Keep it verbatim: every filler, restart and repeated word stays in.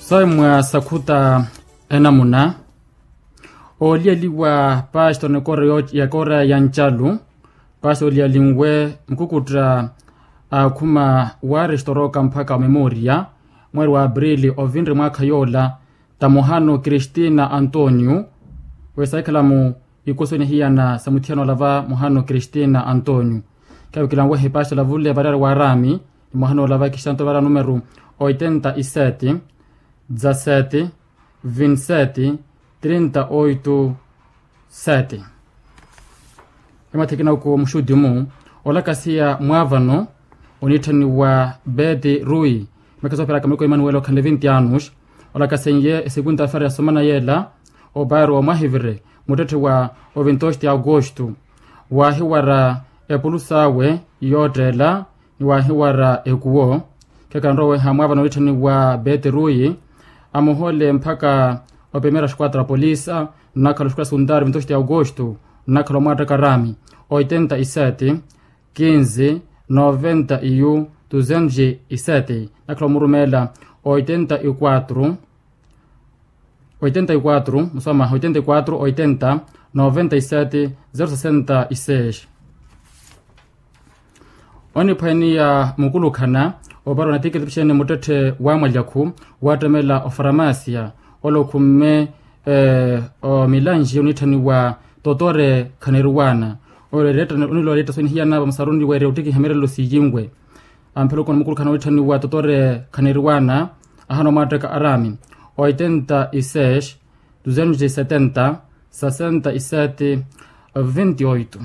Sawe mwa sakhuta enamuna. Ooliyaliwa pastor ni kora ya kora ya ncalu. Pastor ooliyalinwe mukukutta akhuma wa restoroka mpakha wa memoria, mweri wa aprili ovinre mwaakha yoola, ta muhano kristina antonio, wesaikhala-mu ikosoni hiyana sa muthiyana olava muhano kristina antonio. Khavikilanwehe pastor olavule variyari wa rami, ni muhano olava kristanto vara numeru oitenta y sete, dezasete, vinti sete, trinta oito, sete. Emathekina oko muxuti-mu olakasiya mwaavano, onitthaniwa beti rui, mekha sooperaka miluko emanuwela okhanle vinti anus. Olakaseiye esekunta fara ya somana yeela, oparo omwahivire muttetthe wa ovintosti aukosto, waahiwara epulusa awe yootteela, ni waahiwara ekuwo. Khekanroweha mwaavano onitthaniwa beti rui, amuhole mpakha opemera xquatro apolisa, nnakhala oxquatro asuntaari vintosti aukosto, nnakhala omwaattaka rami oitenta y sete, quinze, noventa y un, duzentos y sete, nnakhala omurumeela oitenta y quatro, oitenta y quatro muswamaha oitenta y quatro oitenta, noventa y sete, zero sesenta y seis. Oniphwaniya mukulukhana opara onatikiritipixeni muttetthe wa mwalyakhu, waattemela ofaramasia, ole okhumme omilanji onitthaniwa totore khaneriwana. Ole ereetta onilwa ereetta sonihiyanava musaruni weerya ottikiha mirelelo siyinwe. Amphela okona mukulukhana onitthaniwa totore khaneriwana, ahana omwaattaka arami oitenta y seis, duzentos y setenta, sesenta y sete, vinte y oito.